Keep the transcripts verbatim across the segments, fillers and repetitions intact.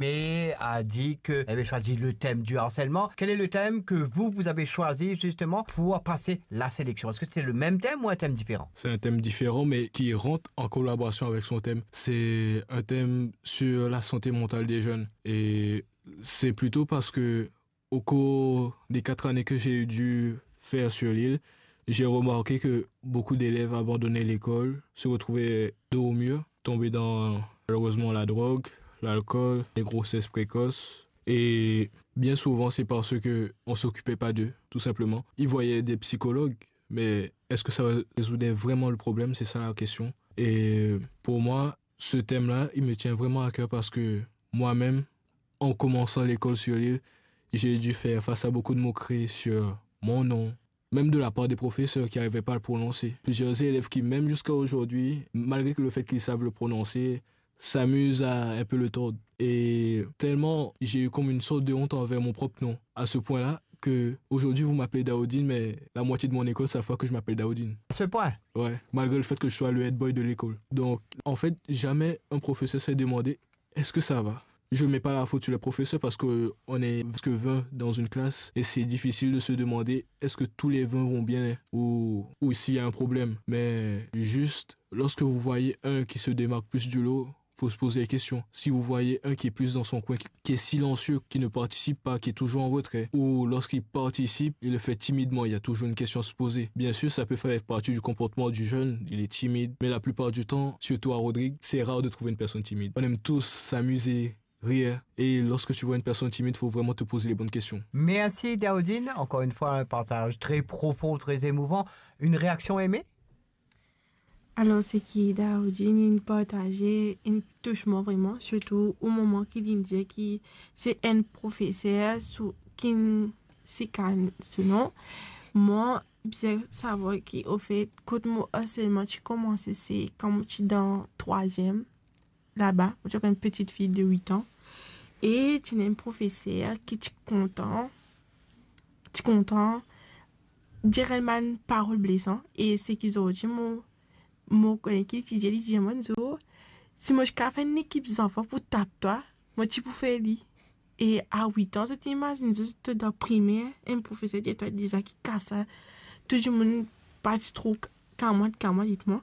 Aimé a dit que elle avait choisi le thème du harcèlement. Quel est le thème que vous, vous avez choisi justement pour passer la sélection ? Est-ce que c'était le même thème ou un thème différent ? C'est un thème différent, mais qui rentre en collaboration avec son thème. C'est un thème sur la santé mentale des jeunes. Et c'est plutôt parce que, au cours des quatre années que j'ai dû faire sur l'île, j'ai remarqué que beaucoup d'élèves abandonnaient l'école, se retrouvaient dos au mur, tombaient dans, malheureusement, la drogue, l'alcool, les grossesses précoces. Et bien souvent, c'est parce que on s'occupait pas d'eux, tout simplement. Ils voyaient des psychologues, mais est-ce que ça résoudait vraiment le problème ? C'est ça la question. Et pour moi, ce thème-là, il me tient vraiment à cœur parce que moi-même, en commençant l'école sur l'île, j'ai dû faire face à beaucoup de moqueries sur mon nom, même de la part des professeurs qui n'arrivaient pas à le prononcer. Plusieurs élèves qui, même jusqu'à aujourd'hui, malgré que le fait qu'ils savent le prononcer, s'amusent à un peu le tordre. Et tellement j'ai eu comme une sorte de honte envers mon propre nom, à ce point-là que aujourd'hui vous m'appelez Daoudine, mais la moitié de mon école savent pas que je m'appelle Daoudine. À ce point ? Ouais, malgré le fait que je sois le head boy de l'école. Donc, en fait, jamais un professeur s'est demandé est-ce que ça va. Je mets pas la faute sur les professeurs parce que on est que vingt dans une classe et c'est difficile de se demander est-ce que tous les vingt vont bien ou, ou s'il y a un problème. Mais juste, lorsque vous voyez un qui se démarque plus du lot, faut se poser des questions. Si vous voyez un qui est plus dans son coin, qui, qui est silencieux, qui ne participe pas, qui est toujours en retrait, ou lorsqu'il participe, il le fait timidement, il y a toujours une question à se poser. Bien sûr, ça peut faire partie du comportement du jeune, il est timide, mais la plupart du temps, surtout à Rodrigues, c'est rare de trouver une personne timide. On aime tous s'amuser, rire, et lorsque tu vois une personne timide, il faut vraiment te poser les bonnes questions. Merci Daoudine, encore une fois un partage très profond, très émouvant. Une réaction, Aimé ? Alor, seki Daoudine inn partaze, inn tous mwa vreman, sirtou o moman ki linn dir ki se enn profeser sou, ki'nn sikann so nom. Mwa, bizin savwar ki, anfet, kot mo harselman ti koumanse, se kan mo ti dan trwaziem, laba, mo ti ankor enn petit fi de wit an. E ti ena enn profeser ki ti kontan, ti kontan dir enn bann parol blesan. E seki zordi mo, mo kone ki li ti dir, li dir mwa enn zour, si mo ti kapav fer enn lekip zanfan pou tap twa, mo ti pou fer li. E a wit an, zot imazinn zot, to dan primer, enn profeser dir twa deza ki kas sa, tou dimoun pa ti tro kamwad, kamwad ek mwa.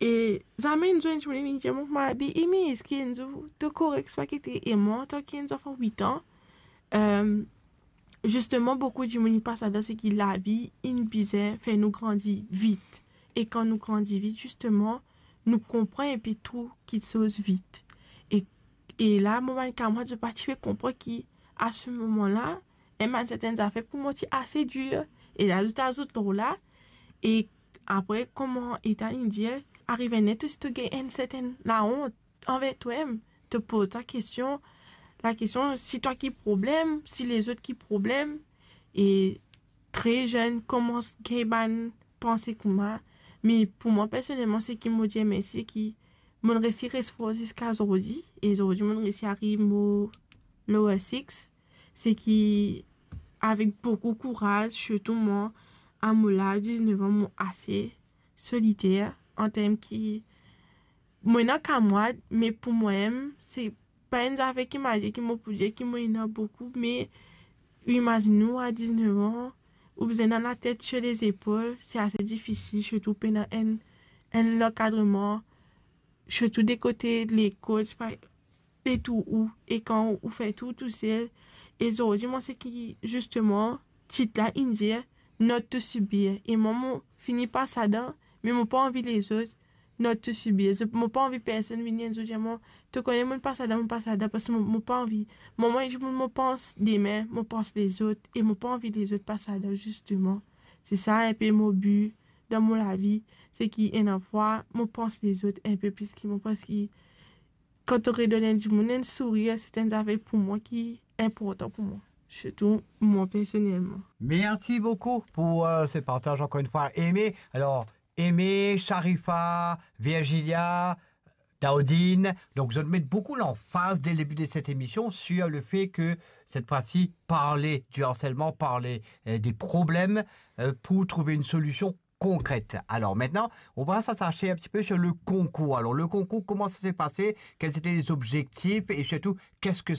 E zame enn zour enn dimoun vinn dir mwa, "Mabi, Imi, eski enn zour to korek, swa ki te?" E mwa, antan ki enn zanfan wit an, euh, zisteman, boukou dimoun inn pas ladan, seki lavi inn bizin fer nou grandi vit. E kan nou grandi vit, zisteman, nou konpran enpe tou kitsoz vit. E, e la, mo bann kamwad, zot pa ti pe konpran ki, a se moman la, enn bann sertenn zafer pou mwa ti ase dir. E la, zot azout lor la. E apre, kouma Ethan inn dir, arive enn ler to, si to gagn enn sertenn laont anver twamem, to poz twa kestion, lakestion, si twa ki problem, si lezot ki problem. E tre zenn koumans gagn bann panse kouma. Me pou mwa, personelman, seki mo dir mersi, seki mo'nn resi res for ziska zordi. E zordi, mo'nn resi ariv mo lower six. Seki avek boukou kouraz, sirtou mwa, a mo laz diznef an, mo ase soliter, an term ki, mo ena kamwad, me pou mwa mem, se pa enn zafer ki mo dir ki mo pou dir ki mo ena boukou, me imazinn ou a diznef an, ou bizin ena latet sir lezepol, se ase difisil, sirtou pena enn, enn lankadreman, sirtou de kote lekol, se pa de tou ou, e kan ou fer tou tousel. E zordi, mwa, seki, zisteman, tit la inn dir, not to subir. E mwa, mo fini pas ladan, me mo pa anvi lezot not to subir. Zot, mo pa anvi personn vini enn zour dir mwa, to kone mo'nn pas ladan, mo'nn pas ladan, parski mo, mo pa anvi. Mwa, mwa, mo, mo pans demin, mo pans lezot, e mo pa anvi lezot pas ladan, zisteman. Se sa enpe mo bi dan mo lavi, seki ena fwa, mo pans lezot enpe plis ki mwa, parski kan to redonn enn dimoun enn sourir, se enn zafer pou mwa ki inportan pou mwa, sirtou mwa personelman. Merci beaucoup pour euh, ce partage encore une fois, Aimé. Alors, Aimé, Sharifa, Virgilia, Daoudine. Donc, je mets beaucoup l'emphase dès le début de cette émission sur le fait que cette fois-ci, parler du harcèlement, parler euh, des problèmes euh, pour trouver une solution concrètes. Alors maintenant, on va s'attacher un petit peu sur le concours. Alors le concours, comment ça s'est passé? Quels étaient les objectifs et surtout, qu'est-ce que